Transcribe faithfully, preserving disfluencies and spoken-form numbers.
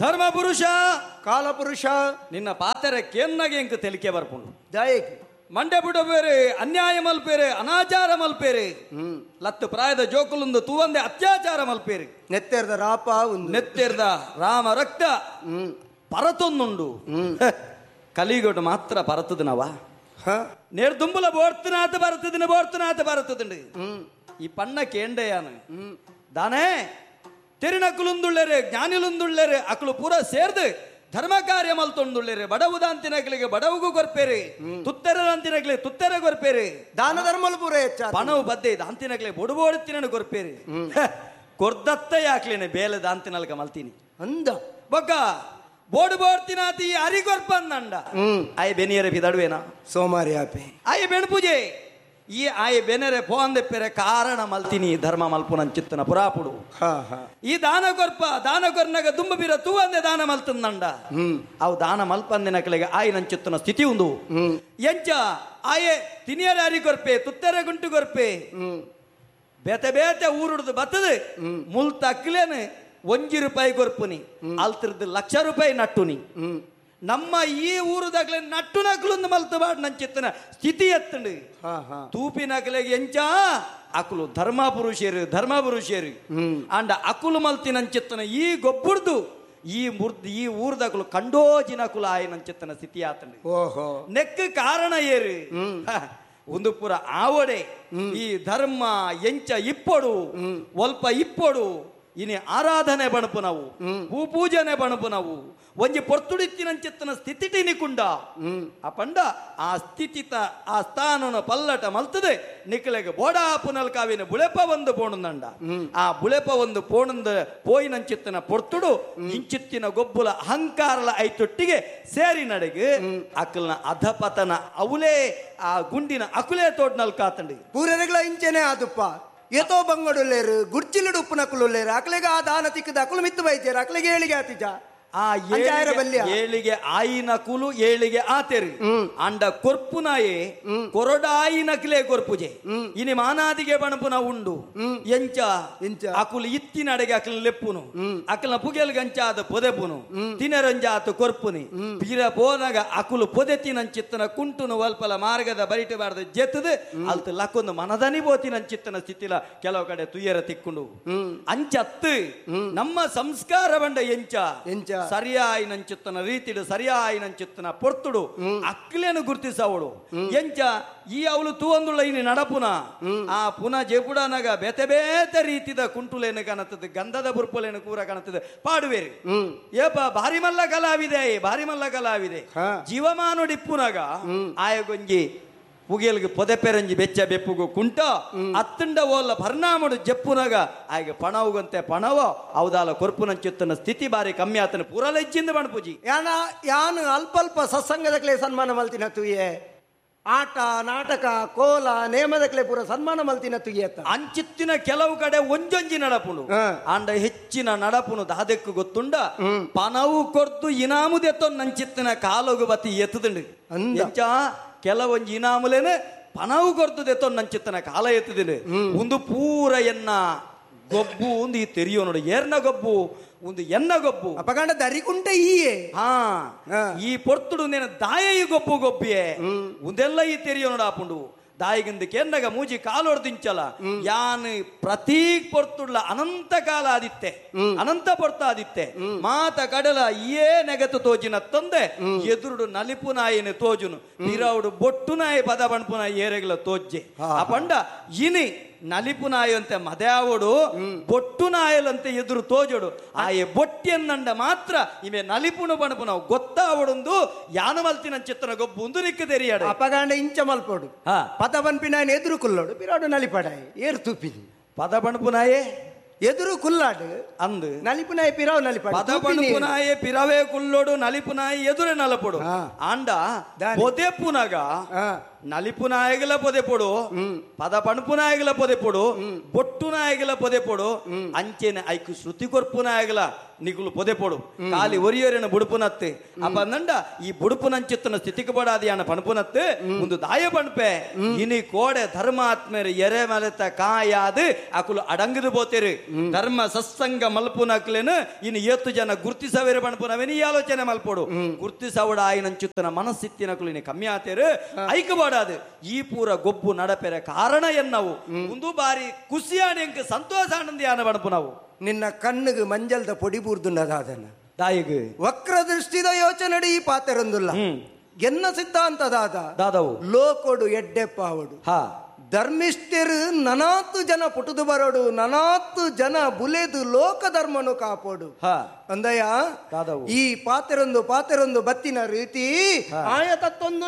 ಧರ್ಮ ಪುರುಷ ಕಾಲಪುರುಷ ನಿನ್ನ ಪಾತೆರೆ ಕೇನ್ನಾಗೆ ಎಂಕ್ ತೆಲಿಕೆ ಬರ್ಪುಂಡು ದಾಯಕ್ ಮಂಡೆ ಬಿಡಬೇರೆ ಅನ್ಯಾಯ ಮಲ್ಪೇರೆ ಅನಾಚಾರ ಮಲ್ಪೇರೆ ಲತ್ತು ಪ್ರಾಯದ ಜೋಕುಲುಂದು ತೂವಂದೆ ಅತ್ಯಾಚಾರ ಮಲ್ಪೇರೆ ನೆತ್ತೆರ್ದ ರಾಪ ನೆತ್ತೆರ್ದ ರಾಮ ರಕ್ತ ಪರತೊಂದುಂಡು ಕಲಿಗೊಡು ಮಾತ್ರ ಪರತದನವ ನೇರ್ ದುಂಬುಲ ಬೋರ್ತನಾಥ ಬರ್ತದಿನ ಬೋರ್ತನಾಥ ಬರ್ತದಂಡು ಈ ಪಣ್ಣ ಕೇಂಡೆಯಾನು ದಾನೇ ತೆರಿನಕುಲುಂದುಳ್ಳೇರೆ ಜ್ಞಾನಿಲುಂದುಳ್ಳೇರೆ ಅಕಲು ಪೂರ ಸೇರ್ದು ಧರ್ಮ ಕಾರ್ಯ ಮಲ್ತೊಂದುಳ್ಳೇರೆ ಬಡವು ದಾಂತಿನಕಲಿಗೆ ಬಡವುಗೂ ಕೊರ್ಪೇರೆ ತುತ್ತೆರ ದಾಂತಿನಕಲಿ ತುತ್ತೆರ ಕೊರ್ಪೇರೆ ದಾನ ಧರ್ಮಲು ಪೂರ ಹೆಚ್ಚ ಪಣವು ಬದ್ದೆ ದಾಂತಿನಕಲಿ ಬೊಡುಬೋಡುತ್ತಿನ ಕೊರ್ಪೇರೆ ಕೊರ್ದತ್ತ ಯಾಕ್ಲೇನೆ ಬೇಲೆ ದಾಂತಿನಲ್ಕ ಮಲ್ತೀನಿ ಅಂದ ಬೊಕ್ಕ ಬೋಡು ಬೋಡ್ತಿನಾತಿ ಅರಿ ಕೊರ್ಪಂದಂಡ ಆಯ್ ಬೆನಿಯರೆ ಬಿದಡುವೇನಾ ಸೋಮಾರಿ ಆಪೆ ಆಯ್ ಬೆಣಪೂಜೆ ಈ ಆಯ್ ಬೆನರೆ ಪೋಂದೆಪ್ಪೆರೆ ಕಾರಣ ಮಲ್ತಿನಿ ಧರ್ಮ ಮಲ್ಪುನಂ ಚಿತ್ತನ ಪುರಾಪುಡು ಈ ದಾನ ಕೊರ್ಪ ದಾನ ಕೊರ್ನಗ ದುಂಬ ಬೀರ ತೂವಂದೆ ದಾನ ಮಲ್ತಂದಂಡ ಅವು ದಾನ ಮಲ್ಪಂದಿನ ಕಲೆಗೆ ಆಯ್ ನಂಚಿತ್ತನ ಸ್ಥಿತಿ ಉಂದು ಎಂಚ ಆಯೆ ತಿನಿಯರೆ ಅರಿ ಕೊರ್ಪೆ ತುತ್ತೆರೆ ಗುಂಟು ಕೊರ್ಪೆ ಬೇತೆ ಬೇತೆ ಊರುಡ್ದು ಬತ್ತದು ಮುಲ್ ತಕ್ಲೇನು ಒಂಜಿ ರೂಪಾಯಿ ಕೊರ್ಪುನಿ ಅಲ್ತಿರ್ದು ಲಕ್ಷ ರೂಪಾಯಿ ನಟ್ಟುನಿ ನಮ್ಮ ಈ ಊರುದಾಗ್ಲೆ ನಟ್ಟು ನಕಲೊಂದು ಮಲ್ತು ಬಾಡ್ ನಂಚಿತ್ತನ ಸ್ಥಿತಿ ಎತ್ತಂಡು ತೂಪಿನಕಲೆಗೆ ಎಂಚ ಅಕುಲು ಧರ್ಮ ಪುರುಷರು ಧರ್ಮ ಪುರುಷರು ಅಂಡ ಅಕುಲು ಮಲ್ತಿ ನಂಚಿತ್ತನ ಈ ಗೊಬ್ಬುರ್ದು ಈ ಮುರ್ದು ಈ ಊರ್ದಕುಲು ಕಂಡೋಜಿನಕುಲು ಆಯ ನಂಚಿತ್ತನ ಸ್ಥಿತಿ ಆತಂಡು ಓಹೋ ನೆಕ್ ಕಾರಣ ಏರು ಒಂದು ಪೂರ ಆವಡೆ ಈ ಧರ್ಮ ಎಂಚ ಇಪ್ಪೊಡು ಒಲ್ಪ ಇಪ್ಪೊಡು ಇನಿ ಆರಾಧನೆ ಬಣಪು ನಾವು ಹೂ ಪೂಜನೆ ಬಣಪು ನಾವು ಒಂಜಿ ಪೊರ್ತುಡಿತ್ತಿನಂಚಿತ್ತನ ಸ್ಥಿತಿಟಿ ನಿಕುಂಡ ಆ ಪಂಡ ಆ ಸ್ಥಿತಿತ ಆ ಸ್ಥಾನನ ಪಲ್ಲಟ ಮಲ್ತದೆ ನಿಕ್ಕಲೆಗೆ ಬೋಡಾ ಪುನಲ್ಕಾವಿನ ಬುಳೆಪ ಒಂದು ಪೋಣುಂದಂಡ ಆ ಬುಳೆಪ ಒಂದು ಪೋಣುಂದ ಪೋಯಿನಂಚಿತ್ತನ ಪೊರ್ತುಡು ಇಂಚಿತ್ತಿನ ಗೊಬ್ಬುಲ ಅಹಂಕಾರಲ ಐತೊಟ್ಟಿಗೆ ಸೇರಿ ನಡೆಗೆ ಅಕಲ್ನ ಅಧಪತನ ಅವಲೇ ಆ ಗುಂಡಿನ ಅಕುಲೇ ತೋಡ್ನಲ್ ಕಾತಂಡಿ ಪೂರನೆಗಳ ಇಂಚೆನೆ ಆದುಪ್ಪ ಏತೋ ಬಂಗಡುಲ್ಲೇರು ಗುರ್ಚಿಲುಡು ಉಪ್ಪುನಕುಲುಲ್ಲೇರು ಅಕ್ಲೆಗೆ ಆ ದಾನ ತಿಕ್ಕದ ಅಕುಲು ಮಿತ್ತು ಬೈತೇರು ಅಕ್ಲೆಗೆ ಏಳಿಗೆ ಆತಿಜ ಆ ಏಳಿಗೆ ಆಯಿನ ಕುಲು ಏಳಿಗೆ ಆತೆರು ಅಂಡ ಕೊರ್ಪುನಾಯೆ ಕೊರಡಾಯಿನಕ್ಲೆ ಕೊರ್ಪುಜೆ ಇನಿ ಮಾನಾದಿಗೆ ಬಣಪುನ ಉಂಡು ಎಂಚ ಎಂಚ ಅಕುಲು ಇತ್ತಿನಡೆಗೆ ಅಕಲ್ ಲೆಪ್ಪುನು ಅಕಲ್ನ ಪುಗೆಲ್ ಗಂಚಾದ ಪೊದೆಪುನು ತಿನರಂಜಾತ ಕೊರ್ಪುನಿ ಪೀರ ಪೋನಗ ಅಕುಲು ಪೊದೆ ತಿನಂಚಿತ್ತನ ಕುಂಟುನು ವಲ್ಪಲ ಮಾರ್ಗದ ಬರಿಟೆ ಬಾರ್ದ ಜೆತ್ತದು ಅಲ್ತ ಲಕ್ಕೊಂದು ಮನದನಿ ಬೋತಿನಂಚಿತ್ತನ ಸ್ಥಿತಿಲ ಕೆಲವು ಕಡೆ ತುಯ್ಯರ ತಿಕ್ಕೊಂಡು ಅಂಚತ್ತು ನಮ್ಮ ಸಂಸ್ಕಾರ ಬಂಡ ಎಂಚ ಎಂಚ ಸರಿಯಾಯಿನಂಚಿತ್ತನ ರೀತಿಡು ಸರಿಯಾಯಿನಂಚಿತ್ತನ ಪೊರ್ತುಡು ಅಕ್ಲೇನು ಗುರ್ತಿಸವಳು ಎಂಚ ಈ ಅವಳು ತೂವಂದುಳ್ಳ ಇನಿ ನಡಪುನ ಆ ಪುನಃ ಜೆಪುಡನಗ ಬೇತೆ ಬೇತೆ ರೀತಿದ ಕುಂಟುಲೇನು ಕಾಣುತ್ತದೆ ಗಂಧದ ಬುರ್ಪುಲೇನು ಕೂರ ಕಾಣುತ್ತದೆ ಪಾಡುವೇರಿ ಏಪ ಭಾರಿ ಮಲ್ಲ ಕಲಾವಿದೆ ಭಾರಿ ಮಲ್ಲ ಕಲಾವಿದೆ ಜೀವಮಾನೋಡಿಪ್ಪುನಗ ಆಯಗೊಂಜಿ ಪುಗೆಲ್ಗೆ ಪೊದೆ ಪೆರಂಜಿ ಬೆಚ್ಚ ಬೆಪ್ಪುಗು ಕುಂಟ ಅತ್ತಂಡ ಓಲ್ಲ ಪರಿಣಾಮಡು ಜಪ್ಪುನಗ ಆಗ ಪಣವುಗಂತೆ ಪಣವೋ ಅವದಾಲ ಕೊರ್ಪುನಂಚಿತ್ತನ ಸ್ಥಿತಿ ಬಾರಿ ಕಮ್ಮಿ ಆತನ ಪೂರ ಲಜ್ಜಿಂದ ಬಣಪೂಜಿ ಯಾನ ಯಾನು ಅಲ್ಪ ಅಲ್ಪ ಸತ್ಸಂಗದಕ್ಲೆ ಸನ್ಮಾನ ಮಲ್ತಿನ ತುಯೆ ಆಟ ನಾಟಕ ಕೋಲ ನೇಮದಕ್ಲೆ ಪೂರ ಸನ್ಮಾನ ಮಲ್ತಿನ ತುಯೆ ಅಂಚಿತ್ತಿನ ಕೆಲವು ಕಡೆ ಒಂಜೊಂಜಿ ನಡಪುನು ಆಂಡ ಹೆಚ್ಚಿನ ನಡಪುನು ದಾದೆಕ್ಕು ಗೊತ್ತುಂಡ ಪಣವು ಕೊರ್ತು ಇನಾಮುದೆತ್ತೊ ನಂಚಿತ್ತಿನ ಕಾಲೋಗು ಬತ್ತಿ ಎತ್ತುದುಂಡು ಎಂಚ ಕೆಲವೊಂಜಿ ಇನಾಮುಲೇನೆ ಪಣವು ಕೊರ್ತದೆ ನಂಚಿತ್ತನ ಕಾಲ ಎತ್ತದಿನಿ ಒಂದು ಪೂರ ಎನ್ನ ಗೊಬ್ಬು ಒಂದು ಈ ತೆರಿಯೋ ನೋಡು ಏರ್ನ ಗೊಬ್ಬು ಒಂದು ಎನ್ನ ಗೊಬ್ಬು ಅಪಗಂಡ ದರಿಕುಂಟೆ ಈಯೇ ಹಾ ಈ ಪೊರ್ತುಡು ನೇನ ದಾಯ ಈ ಗೊಬ್ಬು ಗೊಬ್ಬಿಯೇ ಒಂದೆಲ್ಲ ಈ ತೆರಿಯೋ ನೋಡು ಆಪುಂಡು ದಾಯಿಗಿಂದ ಕೇಂದಾಗ ಮೂಜಿ ಕಾಲೊಡ್ದಿಂಚಲ ಯಾನ್ ಪ್ರತಿ ಪೊರ್ತುಡ್ಲ ಅನಂತ ಕಾಲ ಆದಿತ್ತೆ ಅನಂತ ಪೊರ್ತ ಆದಿತ್ತೆ ಮಾತ ಕಡಲ ಏ ನೆಗತು ತೋಜಿನ ತಂದೆ ಎದುರುಡು ನಲಿಪು ನಾಯಿನ ತೋಜುನು ಬಿರೌಡು ಬೊಟ್ಟು ನಾಯಿ ಪದ ಬಣ್ಪು ನಾಯಿ ಏರೆಗ್ಲ ತೋಜ್ಜೆ ಆ ಪಂಡ ಇನಿ ನಲಿಪು ನಾಯಂತೆ ಮದ್ಯಾವಡು ಬೊಟ್ಟು ನಾಯಲಂತೆ ಎದುರು ತೋಜೋಡು ಆಯೆ ಬೊಟ್ಟಿಯನ್ನಂಡ ಮಾತ್ರ ಇವೆ ನಲಿಪುನು ಬಣಪು ನಾವು ಗೊತ್ತಾವಡೊಂದು ಯಾನ ಮಲ್ತಿನ ಚಿತ್ತನ ಗೊಬ್ಬು ಒಂದು ನಿಕ್ಕ ತೆರಿಯಾಡ ಅಪಗಾಂಡ ಇಂಚ ಮಲ್ಪೋಡು ಪದ ಬನ್ಪಿನಾಯನ ಎದುರು ಕುಲ್ಲೋಡು ಬಿರಾಡು ನಲಿಪಡಾಯಿ ಏರು ತುಪ್ಪಿನಿ ಪದ ಬಣಪು ನಾಯೇ ಎದುರು ಕುಲ್ಲಾಡು ಅಂದು ನಲಿಪುನಾಯಿ ಪಿರಾವ್ ನಲಿಪಾಡು ಪದ ಬಣಪುನಾಯೆ ಪಿರವೇ ಕುಲ್ಲೋಡು ನಲಿಪುನಾಯಿ ಎದುರೆ ನಲಪೋಡು ಆಂಡ ಪೊದೆಪುನಗ ನಲಿಪುನಾಯಗಲ ಪೊದೆಪೊಡು, ಪದ ಪಣಪುನಾಯಗಲ ಪೊದೆಪೊಡು, ಬೊಟ್ಟುನಾಯಗಲ ಪೊದೆಪೊಡು, ಅಂಚೆನೆ ಐಕ್ ಶ್ರುತಿ ಕೊರ್ಪುನಾಯಗಲ ನಿಕುಲು ಪೊದೆಪೊಡು. ಖಾಲಿ ಒರಿಯೊರಿನ ಬುಡುಪುನತ್ತು ಅಪಂದಂಡ ಈ ಬುಡುಪುನಂಚಿತ್ತನ ಸ್ಥಿತಿಗೆ ಬಡಾದಿಯಾನ ಪಣಪುನತ್ತು ಒಂದು ದಾಯ ಪಣಪೆ. ಇನಿ ಕೋಡೆ ಧರ್ಮಾತ್ಮರು ಎರೆ ಮಲೆತ ಕಾಯಾದ ಅಕುಲು ಅಡಂಗದು ಬೋತೇರು. ಧರ್ಮ ಸತ್ಸಂಗ ಮಲ್ಪುನಕ್ಲೇನು ಇನ್ನು ಏತು ಜನ ಗುರ್ತಿಸವೇರು ಪಣಪುನವೇನು ಈ ಆಲೋಚನೆ ಮಲ್ಪೊಡು. ಗುರ್ತಿಸವಡ ಆಯಿನಂಚುತ್ತನ ಮನಸ್ಸಿತ್ತಿನಕುಲು ಇನಿ ಕಮ್ಮಿ ಆತೇರು. ಐಕ ಬಾಡಾದು ಈ ಪೂರ ಗೊಬ್ಬು ನಡಪೆರೆ ಕಾರಣ ಎನ್ನವು ಒಂದು ಬಾರಿ ಖುಷಿಯಾನ ಎಂಕ್ ಸಂತೋಷ ಆನಂದಿಯಾನ ಪಣಪುನವು. ನಿನ್ನ ಕಣ್ಣಿಗೆ ಮಂಜಲ್ದ ಪೊಡಿ ಬೂರ್ದುಂಡದಾದನ ದಾಯಿಗ್ ವಕ್ರ ದೃಷ್ಟಿದ ಯೋಚನೆ ಈ ಪಾತೆರೊಂದುಲ್ಲ. ಎನ್ನ ಸಿದ್ಧಾಂತದಾದ ದಾದವು ಲೋಕೊಡು ಎಡ್ಡೆಪ್ಪಾವಡು ಹಾ ಧರ್ಮಿಷ್ಠರು ನನಾತು ಜನ ಪುಟುದು ಬರೋಡು, ನನಾತು ಜನ ಬುಲೆದು ಲೋಕ ಧರ್ಮನು ಕಾಪೋಡು. ಹಾ ಅಂದಯ್ಯ ದಾದವು ಈ ಪಾತೆರೊಂದು ಪಾತೆರೊಂದು ಬತ್ತಿನ ರೀತಿ ಆಯ ತತ್ತೊಂದು.